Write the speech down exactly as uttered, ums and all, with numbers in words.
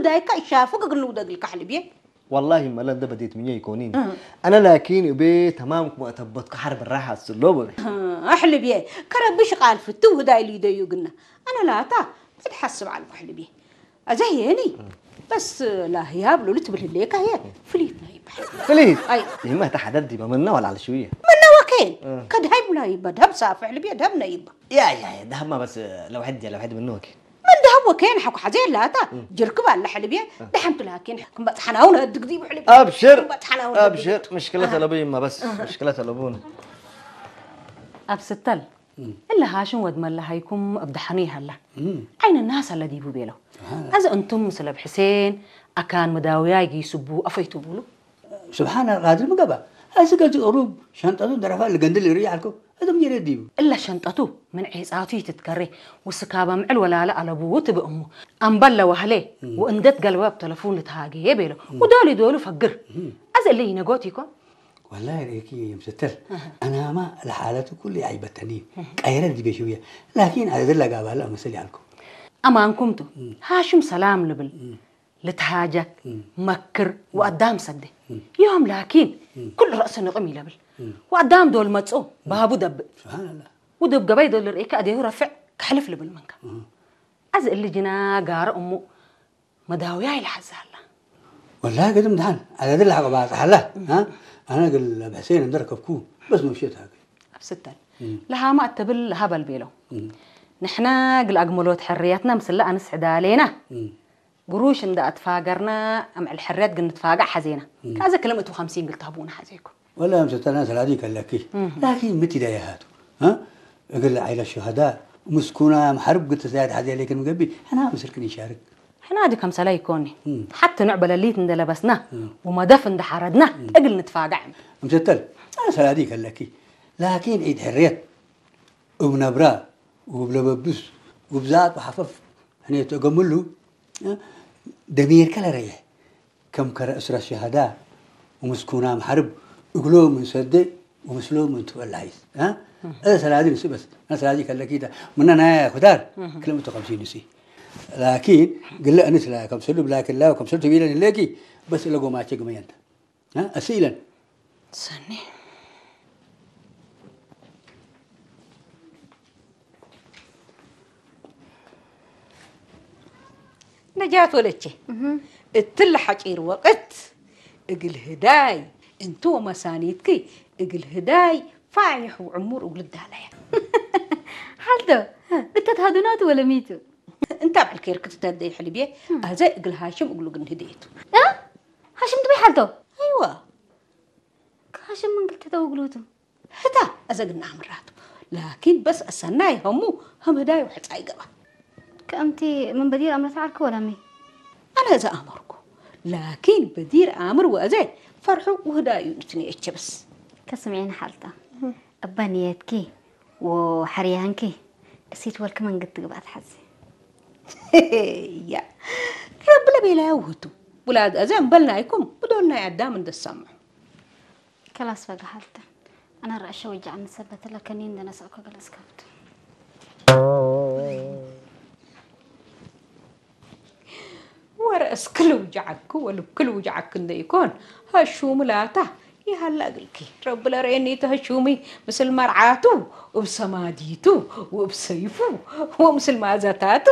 ዳይካ እሻፍግ እግል ንውደግልካ ሕልብዬ። ወላሂ መለ እንደ በዴት ምኘ ኢኮኒን። እ። አነ ላኪን እቤ ተማም ክመ አተበትኩ ሐርብ ራሐ አስሎ በቤ። እ፣ ሕልብዬ፣ ከረቢ ሽቃል ፍትው ህዳይ ሊደዩ ግና። አነ ላታ ብድ ሐስብ ዐልኩ ሕልብዬ። አዘ ህዬኒ፣ እ። በስ ላህያብ ሎሊ ትብል ህሌካ ህዬ ፍሊት ናይ ይበሃል። ፍሊት? አይ። ይህማ እተ ሐደድ ዲበ ምነ ወላ ዐለ ሽውየ። ምነ ወኬን? እ። ከድሃይ ሙላ ይበ ደሀብ ሳፍሕ ልብየ ደሀብ ነይበ። ያ፣ ያ፣ ያ፣ ደሀብማ በስ ለውሐድ፣ ለውሐድ ምነ ወኬን። ምን ደሀብ ወኬን ሐቆ ሐዜ ላታ፣ እ። ጅርክብ አለ ሕልብየ፣ እ። ደሐንቱ ላኪን ክም በጽሐናውን ህድግ ዲቡ ሕልብየ። አብሽር፣ ክም በጽሐናውን ህድግ። አብሽር፣ ምሽክለት እ። አለቡይማ በስ፣ እ። ምሽክለት አለቡን። አብ ስተል እም። እለ ሃሽም ወድ መለሀይኩም እብ ደሐኑ ይሀላ። እም። ዓይን ናስ አለ ዲቡ ቤለው። ስብሓን አላህ። አዘ እንቱም ምስል እብ ሕሴን አካን መዳውያይ ጊሱቡ አፈይቱ ቡሉ። ስብሓን አላህ፣ ቃድር ምን ገብአ? አዚ ገዚ ቅሩብ ሸንጠቱ ደረፋ እለ ገንድል እርይ ዐልኮ። አዘም ጀሬ ዲቡ። እለ ሸንጠቱ ምን ዔጻቱ ይትትከሬ ወስካበ ምዕል ወላለ አለቡ ትብእ እሙ። አምበል ለወህሌ እም። ወእንዴ ትገልበ እብ ተለፉን ልትሃጌ ቤለው። እም። ወዶል ዶሉ ፈግር። እም። አዘ እለ ኢነጎት ኢኮን? ወላሂ ርኤኪ የምስተል፣ አሃ። አናማ ለሓለቱ ኩሉ አይበተኒ፣ አሃ። ቀይረ ዲቤ ሽውየ፣ ላኪን አደድር ለጋባለ አመስል ያልኩ። አማንኩም ቱ፣ እም። ሃሽም ሰላም ልብል፣ እም። ልትሃጀክ፣ እም። መክር፣ እም። ወአዳም ሰዴ። እም። ዮም ላኪን፣ እም። ኩሉ ረእሱ ንቅም ኢለብል። እም። ወአዳም ዶል መጽኦ፣ እም። ባቡ ደብእ። ስብሓንላህ። ወዶብ ገበይ ዶል ርኤከ አዴሁ ረፍዕ፣ ከሕልፍ ልብል መንከ። እም። አዝ እሊ ጅና ጋረ እሙ፣ መዳውያይ ለሐዛላ። ወላሂ ግድም ደሐን፣ አዳድር ለሐቆ ባጽሐላ፣ እ። አ? አነ እግል አብ ሕሴን እንዴ ረከብኩ፣ በስ መብሼት ሀገ። አብ ስተል። እም። ለሃማ እት ትብል ለሀበል ቤለው። እም። ንሕነ እግል አግመሎት ሕርየትነ ምስለ አንስ ሕዳሌነ። እም። ግሩሽ እንዴ አትፋገርነ፣ አምዕል ሕርየት እግል ንትፋገዕ ሐዜነ። እም። ከአዘ ክልም እቱ ኸምሲን እግል ተህቡነ ሐዜኩም። ወለ አምሰተና ሰላዲ ከለኪ። እህ። ላኪን ምን ትዳየሃቱ? አ? እግል ዓይለት ሹሀዳ፣ ምስኩና፣ መሐርብ እግል ትዛየድ ሐዜ ሌክን ምገብእ፣ ሕና ምስልክን ኢንሻርክ። ሕና ዲ ከምሰለ ኢኮኒ። እም። ሐቲ ኖዕ በለሊት እንዴ ለበስና፣ እም። ወመደፍ እንዴ ሐረድና፣ እም። እግል ንትፋገዕ። አምሰተል፣ አ፣ ሰላዲ ከለኪ። ላኪን ዒድ ሕርየት፣ እብ ነብራ፣ ወእብ ለበብስ፣ ወእብ ዛጥ ወሐፈፍ፣ ሕኔቱ እገምሉ፣ አ? ደሚርከ ለረይሕ። ከም ከረ እስረ ሸሀዳ ወምስኩናም ሐርብ እግሎም እንሰዴ ወምስሎም እንቱ እለ ሐይስ፣ አ? እህ። እለ ሰላዲ ንስእ በስ፣ እለ ሰላዲ ከለኪታ፣ ምነ ናያ ኩታር፣ እህ። ክልኤ ምእት ወከምሲን ንስእ። ላኪን፣ ግለ እንስ ለከምሰሉ ብላኪን ላ ወከምሰሉ ትቢለን ህሌኪ፣ በስ እለ ጎማቼ ግመየንተ። አ? አስኢለን። ሰኒ። ነጃት ወለቼ፣ እህ። እትለ ሐጪር ወቅት እግል ህዳይ እንቱ ወመሳኒትኪ እግል ህዳይ ፋይሕ ወዕሙር እግል ዳለያ። ሐልቶ፣ እተ ተሃዱናቱ ወለሚቱ? እንተ አብዕል ኬርክ ትተደይ ሕልብዬ፣ እም። አዘ እግል ሃሽም እግሉ ግን ህደየቱ። እ? ሃሽም ትበይ ሐልቶ? አይዋ። ከሃሽም ምን ግልተተ ወግሉቱ? ህታ አዘ ግና አምራቱ። ላኪን በስ አሰናይ ሀሙ ሀም ህዳዩ ሕጻይ ገባ። ከእምቲ ምን በዲር አምረት ዐልክ ወለሚ? አነ እዘ አመርኩ። ላኪን በዲር አምር ወአዘ ፈርሑ ወህዳዩ ንትንኤቼ በስ። ከስምዒኒ ሐልታ። እበ ንየትኪ ወሐርያንኪ እሲት ወልክ መንግድ ትግባት ሐዚ። ያ ረቢ ለቤላዩ ውህቱ። ውላድ አዘ እምበል ናይኩም ብዶል ናይ አዳም እንደ ሰምዑ። ከላስ ፈገ ሐልተ። አነ ረአሸ ወጀዐኒ ሰበት ለከኒ እንደ ነስአኮ ገለጽ ከብቱ። ወረአስክ ልውጀዐክ ወልብክ ልውጀዐክ እንደ ኢኮን፣ ሀሹም ላታ ይሀለ እግልኪ። ረቢ ለረኤኒ ቱ ሀሹሚ ምስል መርዓቱ፣ እብ ሰማዲቱ ወእብ ሰይፉ ወምስል ማዘታቱ።